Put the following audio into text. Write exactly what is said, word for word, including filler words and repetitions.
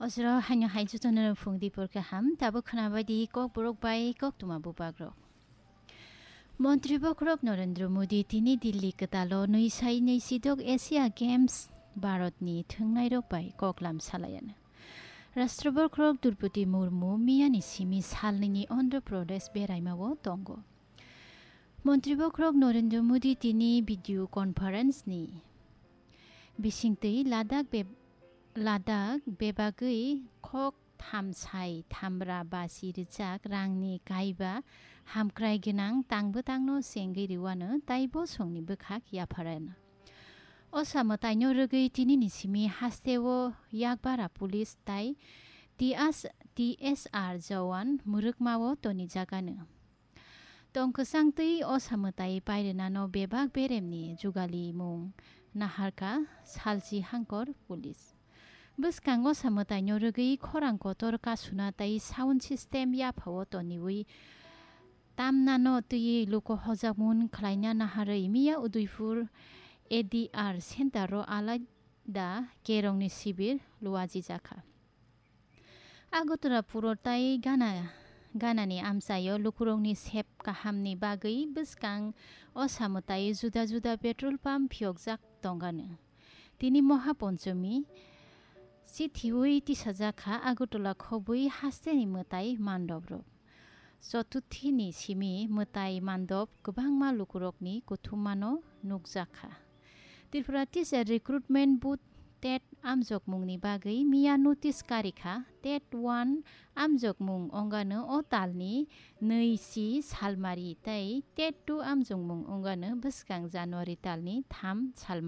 Ojro haino hai jotono phung dipor kaham, tabuk khwnabai di Kokborok bai koktwma bubagrok. Montri bokhorok Narendra Modi tini Delhi kwtalo nwi sai nwi sidok Asia Games Bharatni thwngnairok bai koklam salaiano. Rashtra bokhorok Draupadi Murmu miyani simi salnwini Andhra Pradesh beraimao tongo. Montri bokhorok Narendra Modi tini video conference ni bisingtwi Ladakh be-, Ladakh bebagwi khok thamsai thamra basi rijak rangni kaiba hamkrai gwnang tangbo tangno chengwi rwano tei bosongni bwkhak yapharano. Osa mwtaino rwgwi tinini simi hasteo Yakbara police tei T S, T S R jawan mwrwkmao tonijakano. Tong kwchang twi osa mwtai pairwnano bebak beremni jugalimung naharkha salchi hangkor police. Bwskango samwtaino rwgwi khorang kotor kasuna tei sound system yaphao toniwi tamnano twiwi luku hojakmung khlaina naharwi miya Udaipur A D R center-o alaida kerongni sibir luajijakha. Agartala puro tei Gana, Ganani amchaio lukurokni sep kahamni bagwi bwskang o samwtai juda juda petrol pump phiyokjak tongano. Tini Moha Ponchomi chithiwi tisajakha Agartala khobwi hasteni mwtai mandobrok. Chotuthini simi mwtai mandop kwbangma lukurokni kuthumano nukjakha. Tripura Teacher Recruitment Board TET amjokmungni bagwi miya notice karikha. TET one amjokmung ongano o talni nwi si salmari tei TET two amjokmung ongano bwskang January talni tham salmari.